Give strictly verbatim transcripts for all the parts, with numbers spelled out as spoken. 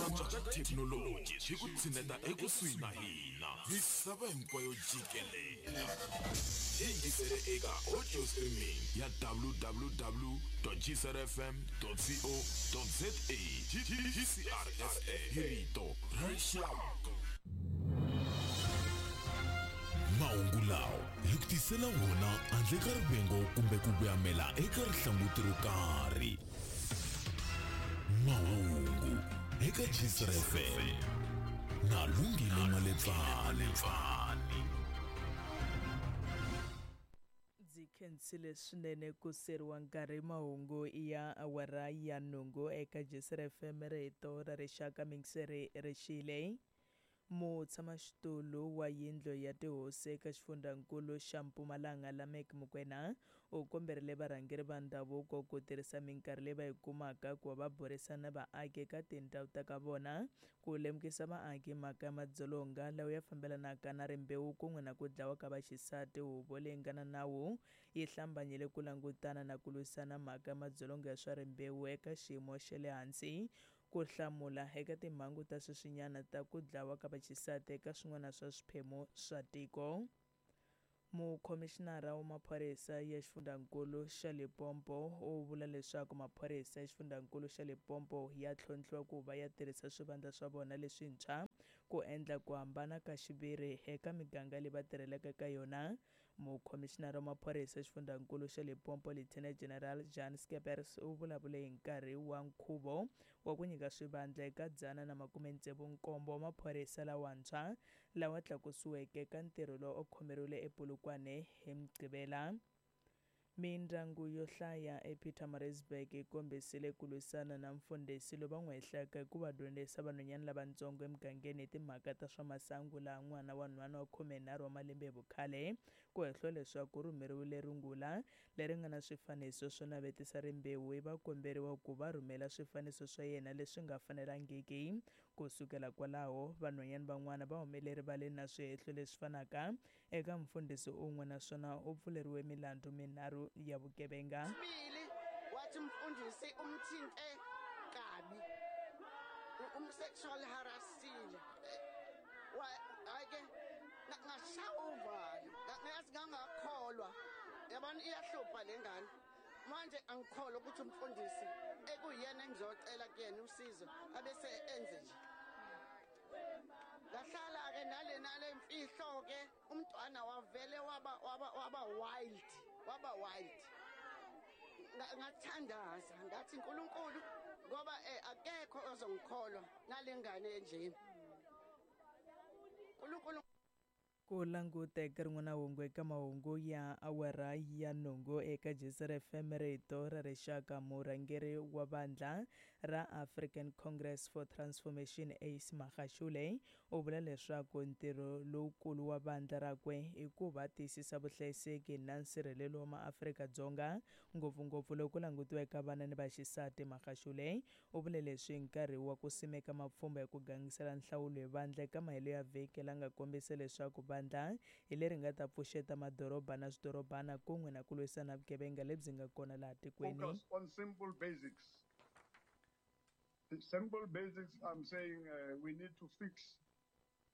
antswa ka thekinoloji swi ku tshineta ekusuhi na hina misava hinkwayo jikelela yingisele eka audio streaming ya w w w dot g c r f m dot co dot z a. G C R F M, hi rito ra rixaka. Mahungu lawa hi ku tisela wona handle ka rivengo kumbe ku vuyamela eka rihlanguti ro karhi. Mahungu eka G C R F M na Lungile Maletsani. Ndzi khensile swinene ku seriwa nkarhi. Mahungu ya awara ya nhungu eka G C R F M, rito ra rixaka. Mingiseri rixile. Mutshamaxitulu wa yindlu ya tihosi eka xifundzankulu xa Mpumalanga Lameck Mokoena u komberile varhangeri va ndhavuko ku tirhisa minkarhi leyi va yi kumaka ku va va burisana na vaaki eka tindhawu ta ka vona ku lemukisa vaaki mhaka ya madzolonga lawa ya fambelanaka na rimbewu kun'we na ku dlawa ka vaxisati. Huvo leyi nga na nawu yi hlambanyile ku langutana na ku lwisana mhaka ya madzolonga ya swa rimbewu eka xiyimo xa le hansi ku hlamula eka timhangu ta sweswinyana ta ku dlawa ka vaxisati eka swin'wana swa swiphemu swa tiko. Mukhomixinara wa maphorisa ya xifundzankulu xa Limpopo u vula leswaku maphorisa ya xifundzankulu xa Limpopo ya tlhontlhiwa ku va ya tirhisa swivandla swa vona leswintshwa ku endla ku hambana ka xiviri eka miganga leyi va tirhelaka eka yona. Mukhomixinara wa maphorisa ya xifundzankulu xa Limpopo Lieutenant General Jan Skeppers u vulavule hi nkarhi wa nkhuvo wa ku nyika swivandla eka dzana na makume tsevu nkombo wa maphorisa lawantshwa lawa tlakusiweke ka ntirho lowu u khomeriwile ePolokwane hi Mugqivela. Mindyangu yo hlaya ePietermaritzburg yi kombisile ku lwisana na mfundhisi lowu va n'wi hehlaka hi ku va dyondzisa vanhwanyana lavatsongo emugangeni hi timhaka ta swa masangu, laha n'wana wa nhwana wa khumenharhu wa malembe hi vukhale ku hehliwa leswaku u rhumeriwile rungula leri nga na swifaniso swo navetisa rimbewu, va komberiwa ku va rhumela swifaniso swa yena leswi nga fanelangiki. Ku sukela kwalaho, vanhwanyana van'wana va humele erivaleni na swihehlo leswi fanaka eka mfundhisi un'we, naswona u pfuleriwe milandzu minharhu ya vugevenga. Wathi mfundisi umthinte kabi, umsexual harassile. Hayi-ke ngashaya uvalo, ngathi ngangakholwa. Yabona iyahlupha le ngane. Manje angikholwa ukuthi umfundisi ekuyena engizocela kuyena usizo abese enze nje. Ngahlala-ke nale nale mfihlo-ke, umntwana wavele waba waba waba wild, waba wild. Ngathandaza ngathi uNkulunkulu, ngoba akekho ozongikholwa nale ngane enjena. uNkulunkulu. Ku languta eka rin'wana hungu eka mahungu ya awara ya nhungu eka G C R F M, rito ra rixaka. Murhangeri wa vandla ra African Congress for Transformation Ace Magashule u vula leswaku ntirho lowukulu wa vandla rakwe i ku va tiyisisa vuhlayiseki na nsirhelelo wa maAfrika-Dzonga, ngopfungopfu loko ku langutiwa eka vana ni vaxisati. Magashule u vule leswi hi nkarhi wa ku simeka mapfhumba ya ku gangisela nhlawulo hi vandla eka mahelo ya vhiki, la nga kombisa leswaku vandla hi leri nga ta pfuxeta madoroba na swidorobana kun'we na ku lwisana vugevenga lebyi nga kona laha tikweni. Focus on simple basics. The simple basics, I'm saying uh, we need to fix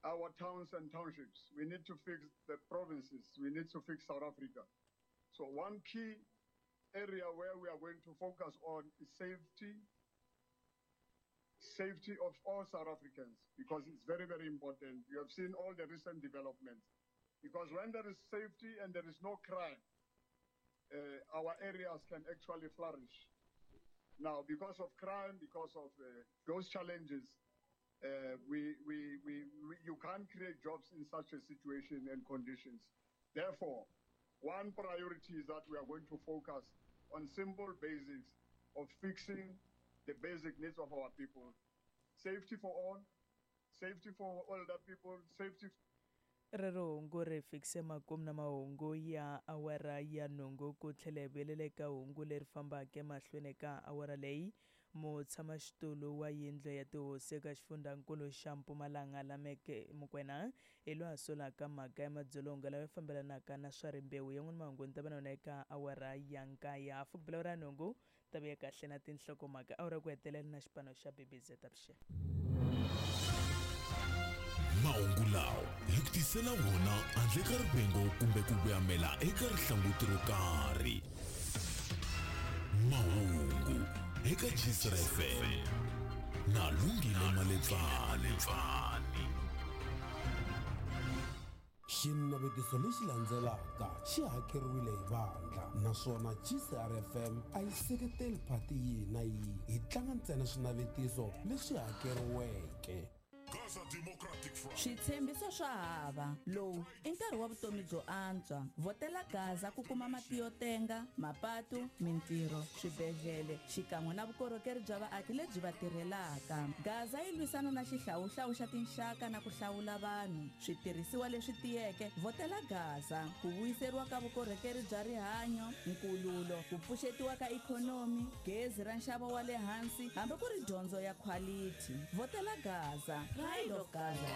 our towns and townships. We need to fix the provinces. We need to fix South Africa. So one key area where we are going to focus on is safety, safety of all South Africans, because it's very, very important. You have seen all the recent developments. Because when there is safety and there is no crime, uh, our areas can actually flourish. Now, because of crime, because of uh, those challenges, uh, we, we, we, we, you can't create jobs in such a situation and conditions. Therefore, one priority is that we are going to focus on simple basics of fixing the basic needs of our people. Safety for all, safety for older people, safety. Rero hungu ri fikise makumu na mahungu ya awara ya nhungu ku tlhela hi vuyelela eka hungu leri fambaka emahlweni ka awara leyi. Mutshamaxitulu wa yindlu ya tihosi eka xifundzankulu xa Mpumalanga Lameck Mokoena hi loyi a solaka mhaka ya madzolonga lawa ya fambelanaka na swa rimbewu. Yan'wana mahungu ni ta va na yona eka awara ya nkaye hafu ku bela awara ya nhungu ta vuya kahle na tinhlokomhaka awara ku hetelela na xipano xa B B Z avuxeni. Mahungu lawa hi ku tisela wona handle ka rivengo kumbe ku voyamela eka rihlanguti ro karhi. Mahungu eka Gcr F M na Lungile Maletsani. Xinavetiso lexi landzelaka xi hakeriwile hi vandla naswona G C R F M a yi seketeli phati yihi na yihi, hi tlanga ntsena swinavetiso leswi hakeriweke. Switshembiso swa hava lowu i nkarhi wa vutomi byo antswa. Vhotela Gaza ku kuma mati yo tenga, mapatu, mintirho, swibedhlele xikan'we na vukorhokeri bya vaaki lebyi va tirhelaka. Gaza yi lwisana na xihlawuhlawu xa tinxaka na ku hlawula vanhu. Switirhisiwa leswi tiyeke, vhotela Gaza ku vuyiseriwa ka vukorhokeri bya rihanyo, nkululo, ku pfuxetiwa ka ikhonomi, gezi ra nxavo wa le hansi hambi ku ri dyondzo ya quality. Vhotela Gaza, Pride of Gaza.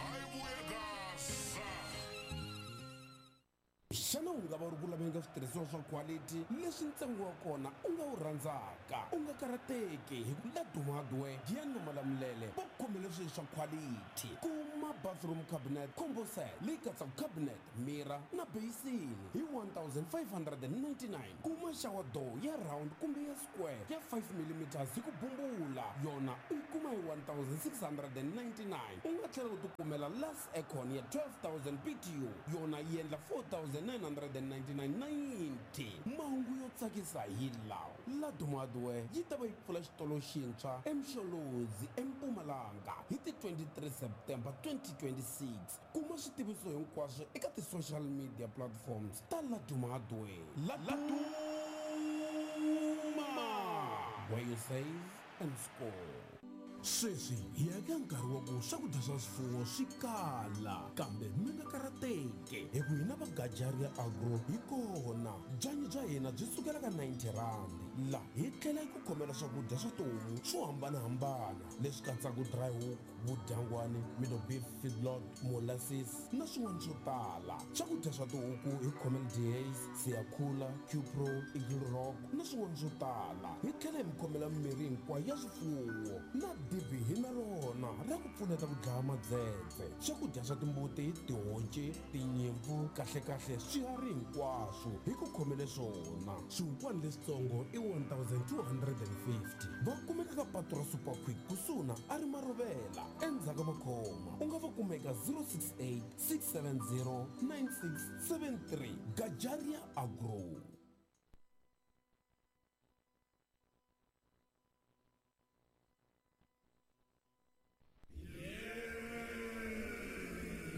Xana u nga va u ri ku laveni ka switirhisiwa swa quality leswi ntsengo wa kona u nga wu rhandzaka? U nga karhateki hi ku Laduma Hardware, Giyani na Malamulele va khomele swilo swa quality. Kuma bathroom cabinet combo set leyi katsaka cabinet, mirror na basin hi one thousand five hundred and ninety-nine. Kuma shower door ya round kumbe ya square ya five millimeters hi ku bumbula, yona u yi kuma hi one thousand six hundred and ninety-nine. U nga tlhela u tikumela last aircon ya twelve thousand B T U, yona yi endla four thousand nine hundred and ninety-nine ninety. Mahungu yo tsakisa hi lawa: Laduma Hardware yi ta va yi pfula xitolo xintshwa eMsholozi eMpumalanga hi ti twenty-three September twenty twenty-six. Kuma switiviso hinkwaswo eka ti-social media platforms ta Laduma Hardware. Laduma, where you save and score. Sweswi hi ya eka nkarhi wa ku swakudya swa swifuwo swi kala, kambe mi nga karhateki hi ku hina va Gajaria Agro hi kona. Byanyi bya hina byi sukela ka ninety rand, la hi tlhela hi ku khomela swakudya swa tihomu swo hambanahambana leswi katsaka dry hook, vudyangwani, middle beef feedlot, molasses na swin'wana swo tala. Swakudya swa tihuku hi khomela Dehaze, Siyakhula, Qpro, Eagle Rock na swin'wana swo tala. Hi tlhela hi mi khomela mimirhi hinkwayo ya swifuwo na dibi hi na rona ra ku pfuneta ku dlaya madzedze. Swakudya swa timbuti, tihonci, tinyimpfu, kahlekahle swiharhi hinkwaswo hi ku khomele swona. Swihukwani leswitsongo i one thousand two hundred and fifty. Va kumeka ka patu ra Super Quick kusuhi na a ri Marovela endzhaku ka Makhoma. U nga va kuma eka zero six eight six seven zero nine six seven three. Gajaria Agro.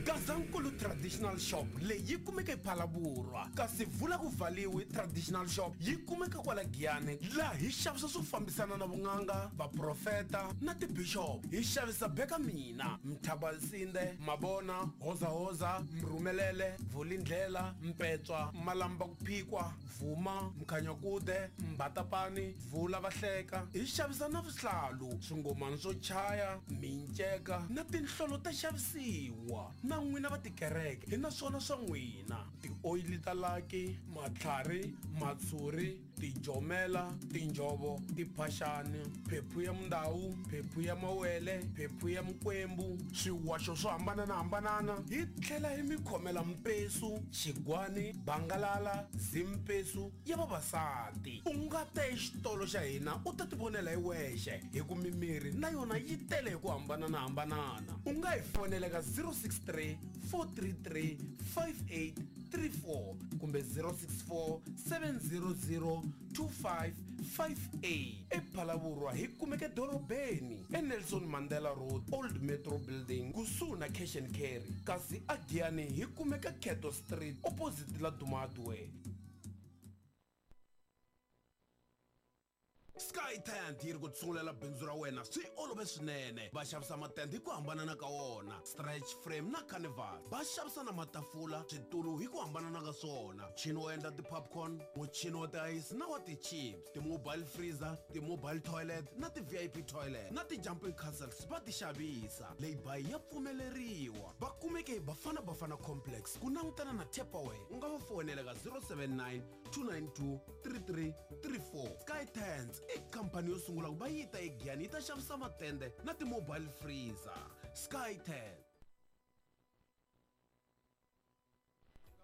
Gazankulu Traditional Shop leyi yi kumeka ePhalaborwa, kasi vula ku valiwi Traditional Shop yi kumeka kwala Giyani, laha hi xavisa swo fambisana na vun'anga, vaprofeta na tibishop. Hi xavisa beka mina, Mthabalsinde, Mabona, Hozahoza, Mrhumelele, Vulindlela, Mpetswa, Malamba ku phikwa, Vuma, Mkhanyakude, Mbatapani, Vula Vahleka. Hi xavisa na vuhlalu, swingomani swo chaya, minceka na tinhlolo ta xavisiwa. Na n'wina va tikereke hi na swona swa n'wina: tioyili ta laki, matlhari, matshuri, tijomela, tinjhovo, tiphaxani, phephu ya mundawu, phephu ya mawele, phephu ya mikwembu, swiwaxo swo hambananahambanana. Hi tlhela hi mi khomela mpesu, xigwani, bangalala, zimpesu ya vavasati. U nga ta exitolo xa hina u ta tivonela hi wexe, hi ku mimirhi na yona yi tele hi ku hambananahambanana. U nga hi fonela ka zero six three four three three five eight three four kumbe zero six four seven zero zero two five five eight. ePhalaborwa hi kumeka edorobeni eNelson Mandela Road, Old Metro Building, kusuhi na Cash and Carry, kasi aGiyani hi kumeka Keto Street opposite Laduma Hardware. Sky Tent yi ri ku tsungulela bindzu ra wena swi olove swinene. Va xavisa matende hi ku hambanana ka wona, stretch frame na carnival. Va xavisa na matafula, switulu hi ku hambanana ka swona, muchini wo endla ti-popcorn, muchini wa tiayisi na wa ti-chips, ti-mobile freezer, ti-mobile toilet na ti-V I P toilet na ti-jumping castles va ti xavisa. Leyi ya pfumeleriwa. Va kumeke hi Bafana Bafana Complex ku langutana na Tupperware. U nga va fonela ka zero seven nine two nine two three three three four. Sky Tents i khampani yo sungula ku va yi ta eGiyani yi ta xavisa matende na ti-mobile freezer. Sky Tent.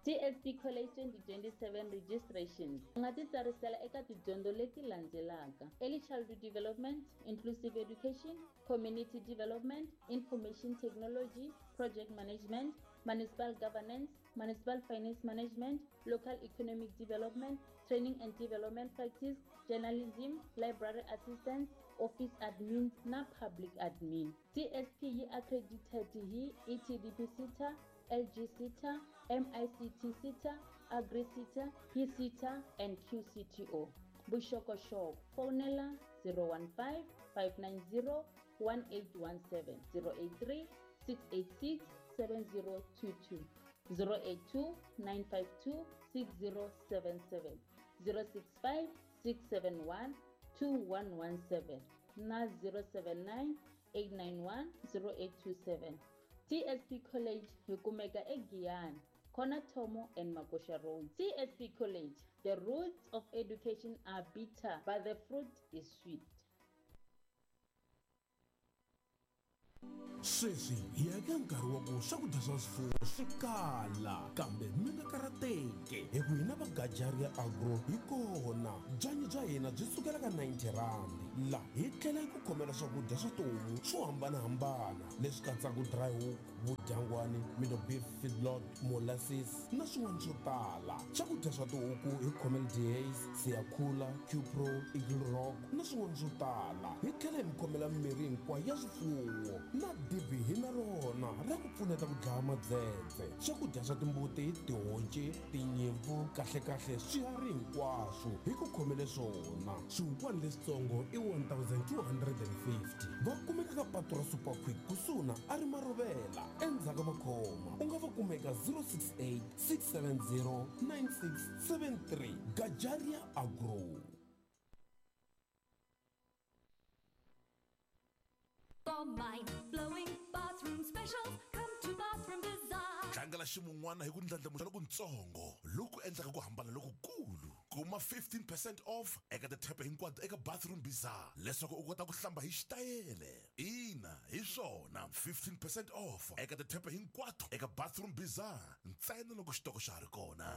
T S P College twenty twenty-seven registrations. U nga titsarisela eka tidyondzo leti landzelaka: early childhood development, inclusive education, community development, information technology, project management, municipal governance, municipal finance management, local economic development, training and development practice, journalism, library assistance, office admin na public admin. T S P yi accredited hi E T D P SETA, L G SETA, M I C T SETA, AgriSETA, P SETA and Q C T O. Vuxokoxoko fonela zero one five, five nine zero one eight one seven, zero eight three six eight six seven zero two two, zero eight two nine five two six zero seven seven, zero six five six seven one two one one seven na zero seven nine eight nine one zero eight two seven. T S P College hi kumeka eGiyani, Corner Thomo and Makosha Road. T S P College, the roots of education are bitter, but the fruit is sweet. Sweswi hi ya eka nkarhi wa ku swakudya swa swifuwo swi kala, kambe mi nga karhateki hi ku hina va Gajaria Agro hi kona. Byanyi bya hina byi sukela ka ninety rand. La hi tlhela hi ku khomela swakudya swa tihomu swo hambanahambana leswi katsaka dry hook, vudyangwani, middle beef feedlot, molasses na swin'wana swo tala. Swakudya swa tihuku hi khomela Dehaze, Siyakhula, Qpro, Eagle Rock na swin'wana swo tala. Hi tlhela hi mi khomela mirhi hinkwayo ya swifuwo na dibi hi na rona ra ku pfuneta ku dlaya madzedze. Swakudya swa timbuti, tihonci, tinyimpfu, kahlekahle swiharhi hinkwaswo hi ku khomele swona. Swihukwani leswitsongo i one thousand two hundred and fifty. Va kumeka ka patu ra Super Quick kusuhi na a ri Marovela endzhaku ka makhoma. U nga va kumeka zero six eight six seven zero nine six seven three. Gajaria Agro. For mind-blowing bathroom specials, come to Bathroom Bazaar. Tlangela ximun'wana hi ku ndlandlamuxa lokutsongo loku endlaka ku hambana lokukulu. Kuma fifteen percent off eka tithepe hinkwato eka Bathroom Bazaar leswaku u kota ku hlamba hi xitayele. Ina, hi swona, fifteen percent off eka tithepe hinkwato eka Bathroom Bazaar ntsena loko xitoko xa ha ri kona.